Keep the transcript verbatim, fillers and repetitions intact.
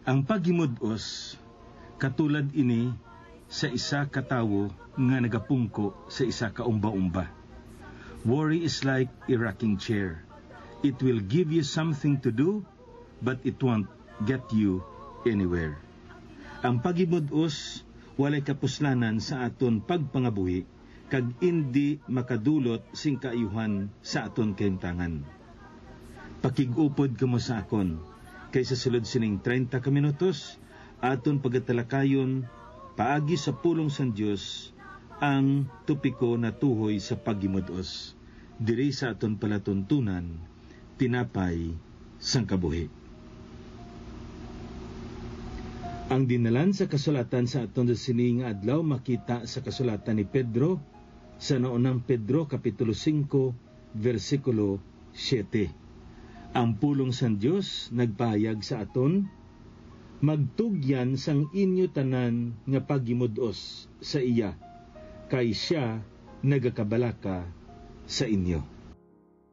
Ang paghimud-os, katulad ini sa isa ka tawo nga nagapungko sa isa ka umba-umba. Worry is like a rocking chair. It will give you something to do, but it won't get you anywhere. Ang paghimud-os walay kapuslanan sa aton pagpangabuhi, kag indi makadulot sing kaayuhan sa aton kahimtangan. Pakig-upod kamo sa akon, kay sa sulod sining treinta ka minutos, aton pagatalakayon paagi sa pulong sang Dios ang topiko natuhoy sa paghimud-os, diri sa aton palatuntunan, Tinapay sang Kabuhi. Ang dinalan sa kasulatan sa aton sa sini nga adlaw makita sa kasulatan ni Pedro, sa naunang Pedro, Kapitulo singko, bersikulo siyete. Ang pulong sang Dios nagpahayag sa aton, "Magtugyan sang inyo tanan nga paghimud-os sa iya, kay sia nagakabalaka sa inyo."